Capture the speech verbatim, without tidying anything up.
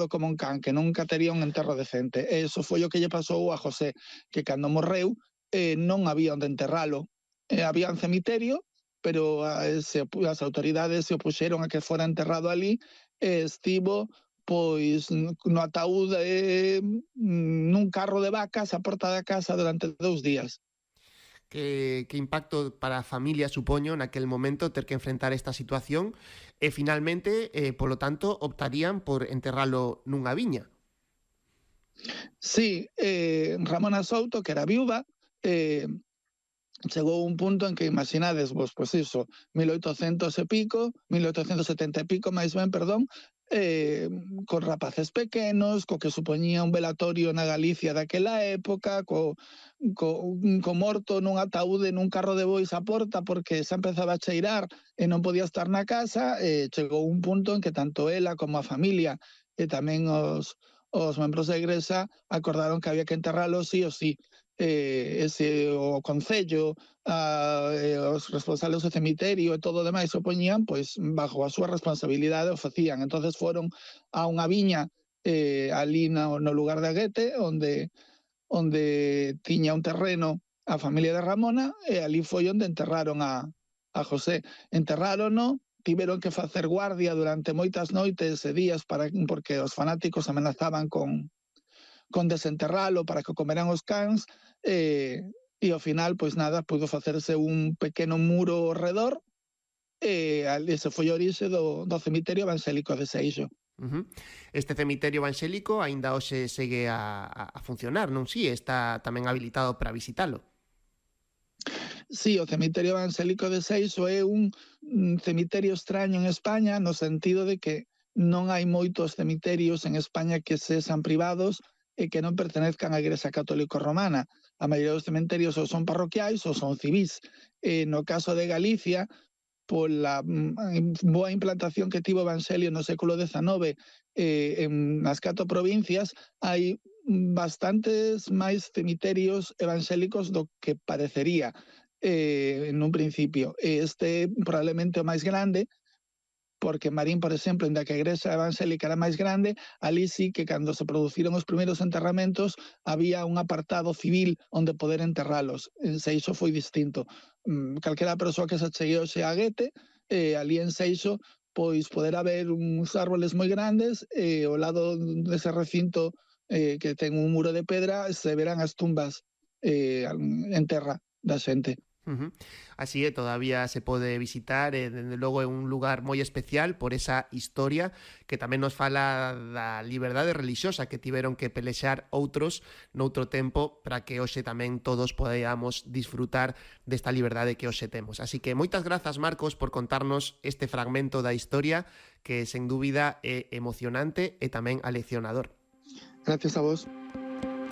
como un can, que nunca tería un enterro decente. E iso foi o que lle pasou a José, que cando morreu eh, non había onde enterralo. Eh, había un cemiterio, pero a, se, as autoridades se opuxeron a que fora enterrado ali e estivo pois no ataúd eh, nun carro de vacas á porta da casa durante dous días. Que, que impacto para a familia supoño naquel momento ter que enfrentar esta situación e finalmente, eh, polo tanto, optarían por enterralo nunha viña. Sí, eh, Ramona Souto, que era viúva, eh, chegou un punto en que imaginades vos, pois iso, mil oitocentos e pico, mil oitocentos e setenta e pico, máis ben, perdón, eh, con rapaces pequenos, co que supoñía un velatorio na Galicia daquela época, co, co, co morto nun ataúde nun carro de bois á porta porque xa empezaba a cheirar e non podía estar na casa, e chegou un punto en que tanto ela como a familia e tamén os, os membros da igrexa acordaron que había que enterralo sí o sí. Eh, ese o Concello, a, eh, os responsables do cemiterio e todo o demais o poñían, pois bajo a súa responsabilidade o facían. Entonces foron a unha viña eh, ali no, no lugar de Aguete, onde onde tiña un terreno a familia de Ramona, e ali foi onde enterraron a, a José. Enterrárono, tiveron que facer guardia durante moitas noites e días para, porque os fanáticos amenazaban con con desenterralo para que comeran os cans, eh, e ao final, pois nada, pudo facerse un pequeno muro ao redor, e ese foi o orixe do, do cemiterio evangélico de Seixo. Uh-huh. Este cemiterio evangélico aínda hoxe segue a, a funcionar, non si? Está tamén habilitado para visitalo. Sí, o cemiterio evangélico de Seixo é un, un cemiterio extraño en España, no sentido de que non hai moitos cemiterios en España que sexan privados e que non pertenezcan á Igrexa Católica Romana. A maioría dos cementerios ou son parroquiais ou son civís. E no caso de Galicia, pola boa implantación que tivo o Evangelio no século dezenove eh, en as catro provincias, hai bastantes máis cemiterios evangélicos do que parecería eh, en un principio. Este probablemente o máis grande, porque Marín, por exemplo, inda que a igrexa evangélica era máis grande, ali sí que cando se produciron os primeiros enterramentos había un apartado civil onde poder enterralos. En Seixo foi distinto. Calquera persoa que se chegue hoxe a Aguete, eh, ali en Seixo, pois poder haber uns árboles moi grandes e ao lado dese recinto eh, que ten un muro de pedra se verán as tumbas eh, en terra da xente. Uh-huh. Así é, todavía se pode visitar e, dende logo, é un lugar moi especial por esa historia que tamén nos fala da liberdade religiosa que tiveron que pelexar outros noutro tempo para que hoxe tamén todos podamos disfrutar desta liberdade que hoxe temos. Así que moitas grazas, Marcos, por contarnos este fragmento da historia que, sen dúbida, é emocionante e tamén aleccionador. Gracias a vos.